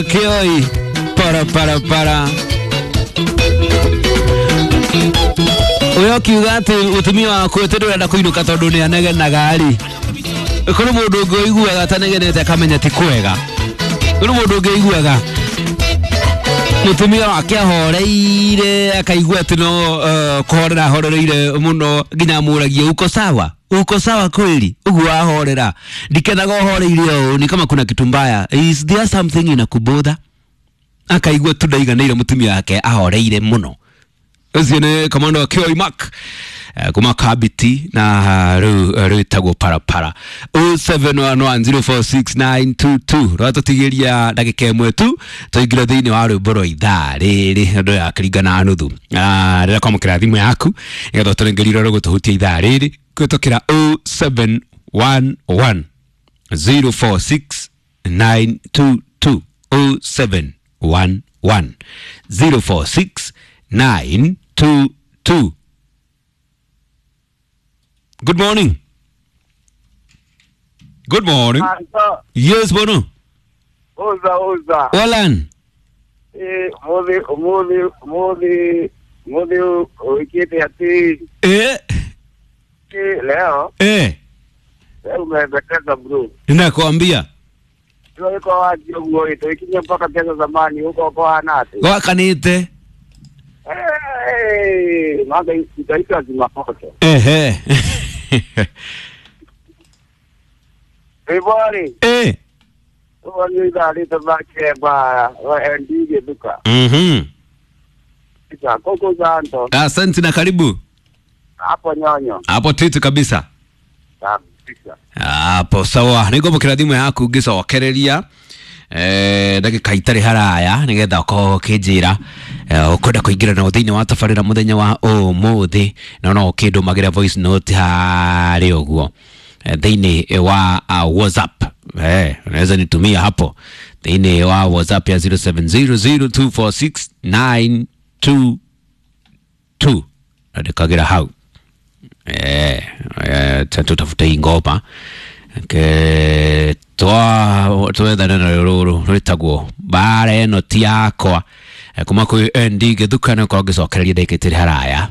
Kioi para para para ũyũ akiuga atĩ mũtumia waku atĩ ndũrenda kũinũka tondũ nĩ anegenaga rĩ, kũrĩ mũndũ ũngĩ ũiguaga atanegenete akamenya ti kwega. Kũrĩ mũndũ ũngĩ ũiguaga mũtumia wake ahoreire akaigua atĩ no kũhorera ahorereire mũno nginya amũragie uko sawa, uko sawa kweli? Ũguo ahorera, ndikenaga ũhoreire ũũ, ni kama kuna kitu mbaya, is there something inakubother? Akaigua tu ndaiganĩire mũtumia wake ahoreire mũno. Ũcio nĩ kamando wa Kioi Mark kuma Kabiti na rĩu rwĩtagwo parapara. 0711046922 rwatũtigĩria ndagĩka ĩmwe tu tũingĩre thĩinĩ wa rwĩmbo rwa ithaa rĩrĩ andũ ya kĩringana na nuthu. Rĩrĩa kwamũkĩra thimũ yaku nĩgetha ũtũrengerie rũgũtũhutia ithaa rĩrĩ kũhĩtũkĩra 0711 046 922, 0711 046 922. Good morning. Good morning. Anto, Yes, Bono. uza uza. Walan. Eh, muthi muthi muthi muthi uikite ati leo leo umependeza bro. Ninakwambia. Ndio iko wapi uguo ito ikinya mpaka pesa zamani huko kwa hanate. Gwakanite. Eh, maga itaitwa zimapoto. Ehe. Ibori, wani idari tabake ba wa ndije duka. Isa koko zanto Asante na karibu. Hapo nyonyo. Hapo titu kabisa. Kabisa. Hapo sawa. Nĩngwamũkĩra thimũ yaku ngĩcokereria ndagĩka itarĩ haraya nĩgetha ũkorwo ũkĩnjĩra ũkwenda kũingĩra na thĩinĩ wa tabarĩra mũthenya wa ũmũthĩ, na no ũkĩndũmagĩra voice note harĩ ũguo thĩinĩ wa WhatsApp. Unaweza nitumia hapo thĩinĩ wa WhatsApp ya 0700246922 andĩkagĩra hau. Tutafute hii ngoma ke twa twethane na rũrũ rwĩtagwo mbara ĩno ti yakwa, kuma kwĩ ND Gĩthukano, korwo ngĩcokereria ndagĩka itarĩ haraya.